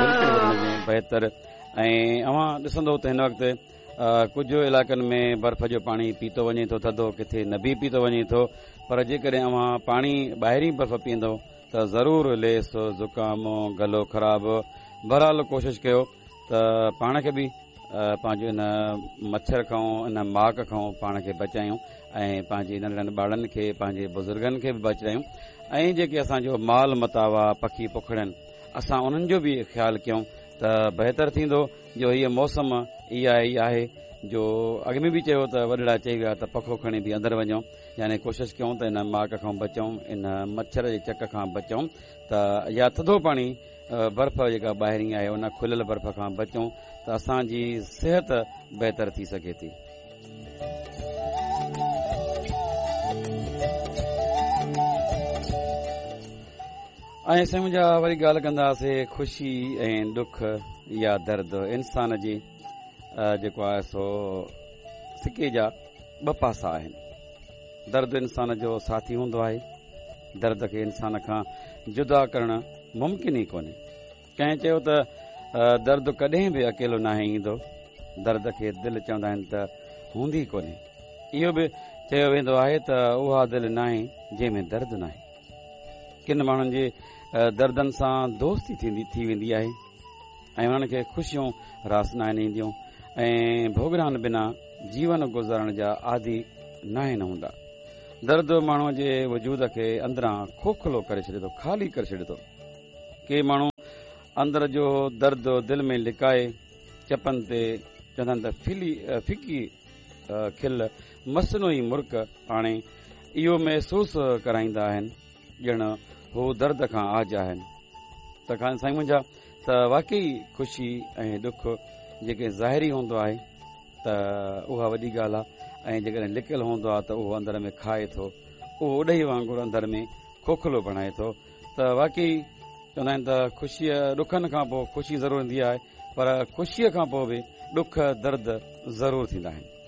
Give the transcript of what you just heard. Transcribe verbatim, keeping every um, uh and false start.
بلڪل بهتر. ۽ اوهان ڏسندو ته هن وقت ڪجهه علائقن ۾ برف جو پاڻي پيتو وڃي ٿو ٿڌو، ڪٿي نه به پيتو وڃي ٿو، پر جيڪڏهن اوهان پاڻي ٻاهرين برف پيئندو ته ضرور ليس، زڪام، گلو خراب. بهرحال ڪوشش ڪيو ته پاڻ کي به پنهنجو ان مڇر کان، ان ماڪ کان پاڻ کي بچايون ۽ پنهنجي ننڍڙن ٻارن کي، پنهنجي بزرگن کي به بچايون. ۽ جيڪي اسان جو مال متاع آ، پکي پکڙن، اسان انهن جو به خيال ڪيون ته بهتر ٿيندو. جو هيءَ موسم اها ئي آهي جو اڳ ۾ به چيو ته وڏڙا چئي ويا ته پکو کڻي به اندر وڃو، يعني ڪوشش ڪيون ته ان ماڪ کان بچون، ان مڇر جي چڪ کان بچون، ته يا ٿڌو پاڻي برف جيڪا ٻاهرين آهي ان کليل برف کان بچون ته اسان جي صحت بهتر ٿي سگهي ٿي. ۽ سائين منهنجا وري ڳالهه ڪنداسين خوشي ۽ ڏک يا درد انسان جي جيڪو آهي سو سڪي جا ٻه پاسا آهن. درد انسان جو ساٿي هوندو آهي، درد کي انسان کان جدا ڪرڻ ممڪن ئي ڪونهي. ڪنهن چيو ته درد ڪڏهن به اڪيلو ناهي ايندو، درد کي دل چوندا آهن ته هوندي ڪونهي. اهو به چيو ويندو آهي ته اها دل ناهي جنهن ۾ درد ناهي. ڪن ماڻهن جي دردن سان دوستي ٿيندي ٿي ويندي آهي ۽ انهن کي خوشيون راس ناهن اينديون ۽ ڀوڳنائن بنا جيون گذارڻ جا عادي ناهن هوندا. درد ماڻهوءَ جي وجود کي اندران کوکلو ڪري ڇڏي ٿو، خالي ڪري ڇڏي ٿو. ڪي ماڻهو اندر جو درد دل ۾ لڪائي چپن تي چوندا آهن ته ڦلي ڦڪي کل مصنوعي مرڪ آڻي اهو محسوس ڪرائيندا آهن ڄڻ هو درد کان آج آهن. ته خان سائين منهنجا ته واقعي خوشي ۽ ڏک جيڪي ظاهري هوندو آهي ته اها وڏي ڳالهه آهي، ۽ جيڪڏهن لڪيل هوندو آهي ته اهو اندر ۾ کائي ٿو، اهو اڏهي وانگر اندر ۾ کوکلو بڻائي ٿو. ته واقعي چوندا آهن ته خوشيءَ ڏکن کان پوءِ خوشي ضرور ايندي آهي، پر خوشيءَ کان پوءِ به ڏک درد ضرور ٿيندا آهن.